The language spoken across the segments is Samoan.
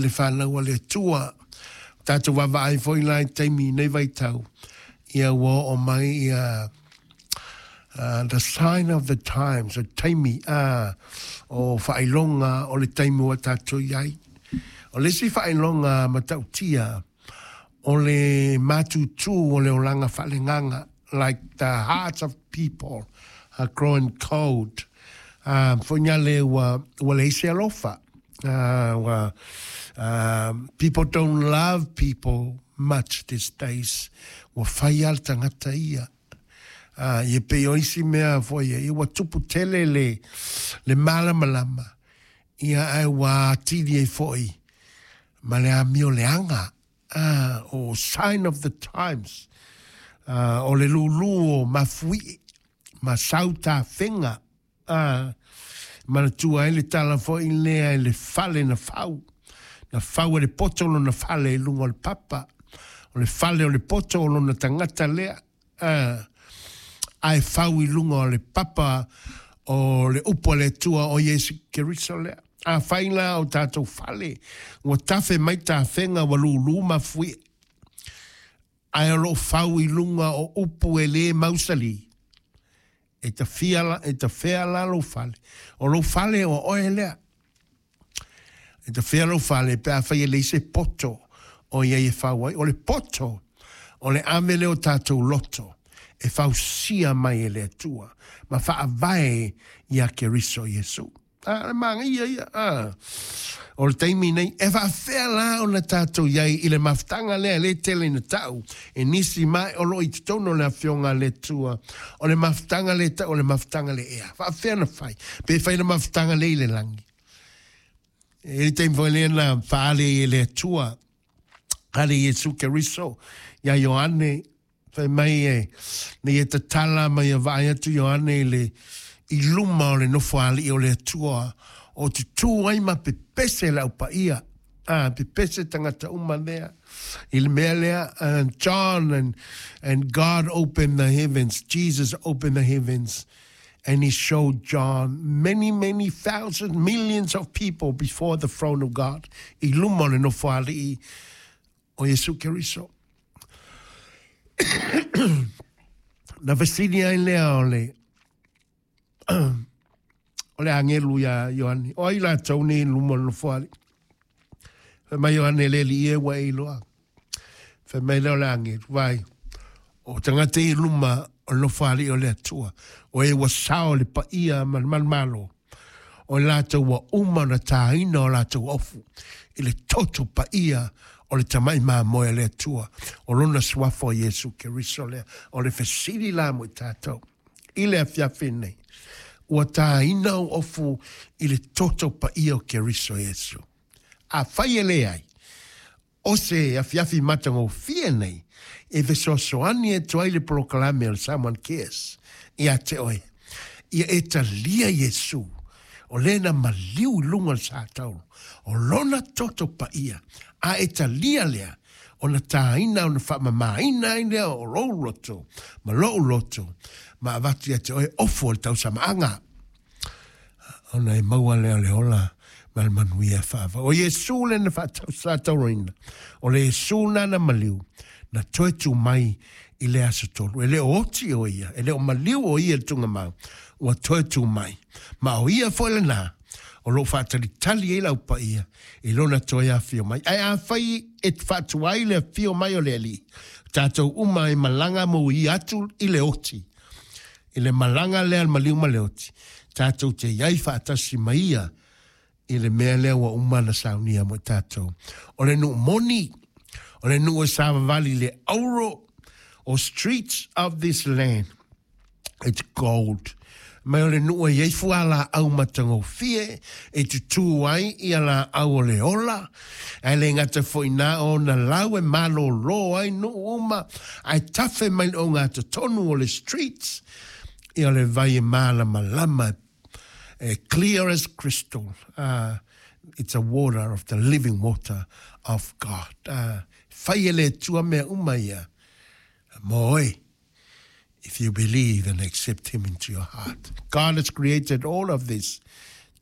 le fanau a le Atua. Ua tatou vaavaai foi la i taimi i nei vaitau, ia ua oo mai ia the sign of the times, o taimi o faailoga o le taimi ua tatou i ai. O le isi faailoga matautia, o le matutu o le olaga faaleagaga, like the hearts of people are growing cold. Foi nā le ua, ua leai se alofa. Ua, people don't love people much these days. Ua fai lava le tagata ia. Ia pei o isi mea foi ia, ua tupu tele le, le malamalama, ia ae ua atili ai foi ma le amio leaga. O sign of the times, o le lūlū o mafuie ma sau tafega, manatua ai le tala foi lea i le fale na fau, na fau e le poto lona fale i luga o le papa, o le fale o le poto o lona tagata lea, ae fau i luga o le papa o le upu a le Atua o Iesu Keriso lea. Afai la o tatou fale ua tafe mai tafega ua lūlū mafuie, ae o lo o fau i luga o upu e lē mausali, e tafia, e tafea la lou fale. O lou fale o oe lea. E tafea lou fale pe afai e leai se poto o i ai e fau ai. O le poto, o le ave lea o tatou loto e fausia mai e le Atua ma faavae ia Keriso Iesu. A, le manaia ia. A. O le taimi nei, e faafefea la ona tatou i ai i le mafutaga lea e le tele ina tau e nisi ma o lo o i totonu o le Afioga a le Atua, o le mafutaga lea e tau o le mafutaga le ea. Faafefea ona fai? Pe fai le mafutaga lea i le lagi? E i ai le taimi foi lea na faaali ai e le Atua, a le Iesu Keriso iā Ioane, Fai mai e, nei e tatala ma ia vaai atu Ioane i le, i luma o le Nofoalii o le Atua, o tutū ai ma pepese le au paia, a, pepese tagata uma lea, i le mea lea, and John and, and God opened the heavens, Jesus opened the heavens, and he showed John many, many thousands, millions of people before the throne of God, i luma o le Nofoalii o Iesu Keriso. Na fesili ai lea o le o le agelu iā Ioane, o ai latou nei i luma o le nofoalii? Fai mai Ioane, le alii e ua e iloa. Fai mai lea o le agelu, vaai, o tagata i luma o le nofoalii o le Atua, o e ua sao le paia ma le manumalo, o i latou ua uma ona tāina o latou ofu i le toto paia o le Tamai Mamoe a le Atua, o Lona Suafa o Iesu Keriso lea. O le fesili la mo i tatou i le afiafi nei, ua tāina ou ofu i le toto paia o Keriso Iesu? Afai e leai, O se afiafi matagofie nei e fesoasoani atu ai le polokalame o le Samoan Cares ia te oe, ia e talia Iesu, o le na maliu i luga o le satauro, o lona toto paia, a e talia lea, ona tāina, ona faamamaina ai lea o lou loto ma lou loto, ma avatu ia te oe ofu o le tausamaaga. Ona e maua lea o le ola ma le manuia faavau. O Iesu lea na faatausātauroina, o le Iesu nana maliu, na toe tū mai i le aso tolu. E le o oti o ia, e le o maliu o ia i le tugamau, ua toe tū mai. Ma o ia foi lenā, o lo o faatalitali ai le au paia i lona toe afio mai. Ae afai e faatuai le afio mai o le Alii, tatou uma e malaga mou atu i le oti, I le malaga lea a le maliu ma le oti, tatou te i ai faatasi ma ia i le mea lea ua uma ona saunia mo i tatou. O le nuu moni, o le nuu e savavali i le auro, o streets of this land, it's gold. Mai o le nuu e i ai fualaau matagofie e tutū ai ia laau o le ola, ae le gata foi na o ona lau e malōlō ai nuu uma, ae tafe mai le ogatotonu o le streets, ia o le vai e mālamalama e clear as crystal. It's a water of the living water of God. Fai e le Atua mea uma ia mō oe. If you believe and accept him into your heart. God has created all of this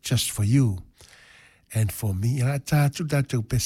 just for you and for me. Ia tā atu tātou pese.